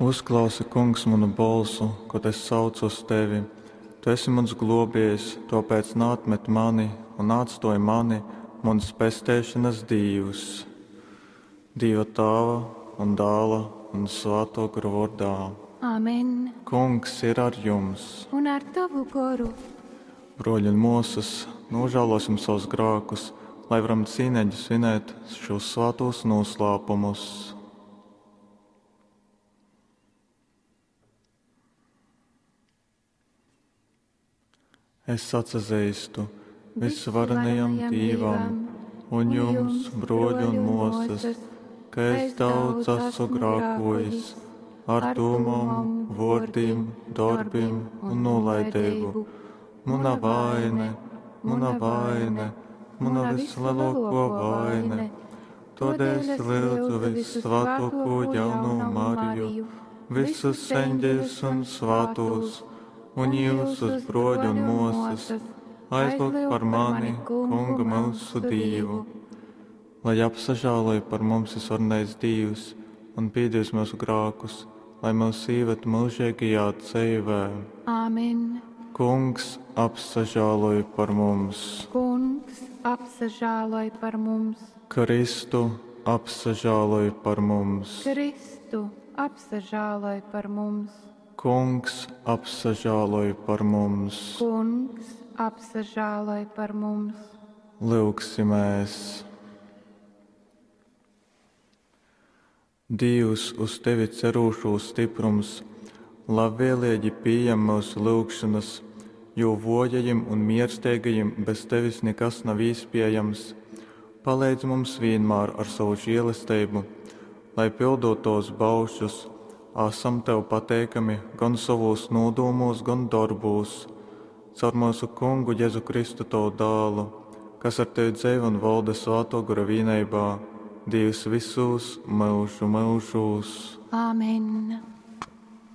Uzklausi, Kungs, munu bolsu, kod es saucu uz tevi. Tu esi muns glōbiejs, tōpēc naatmet mani un naatstōj mani, muns pesteišonas Dīvs. Dīva Tāva un Dāla un Svātō Gora vōrdā. Amen. Kungs ir ar jums. Un ar tovu goru. Brōļi un mōsas, nūžālōsim savus grākus, lai varam cīneigi svinēt šos svātūs noslēpumus. Es atsazeistu visvarenajam Dīvam un jums, brōļi un mōsas, ka es daudz esmu grākojis ar dūmom, vōrdim, dorbim un nolaideibu. Muna vaine, muna vaine, muna vislielāko vaine. Tādēļ es lūdzu vissvētāko jauno Mariju, visus eņģeļus un svētos, un jūsus brōļi un mōsas, aizlūgt par mani, Kungu mūsu Dīvu. Lai apsažāloj par mums visvarenais Dīvs un piedos mūsu grākus, lai mūs ieved mūžīgajā dzīvē. Āmen. Kungs apsažāloj par mums. Kungs apsažāloj par mums. Kristu apsažāloj par mums. Kristu apsažāloj par mums. Kungs apsažāloj par mums. Kungs apsažāloj par mums. Lūgsimies! Dīvs, uz tevi cerūšo stiprums, labvēlīgi pieņem mūsu lūgšanas, jo vojajiem un mierstīgajiem bez tevis nekas nav iespējams. Palīdz mums vienmēr ar savu žēlastību, lai pildot tos baušus, esam tev pateikami gan savos nodūmos, gan darbūs. Caur mūsu kungu Jēzu Kristu tavu dālu, kas ar tevi dzīvo un valda svēto gara vienībā, Dievs visos mūžu mūžos. Āmen.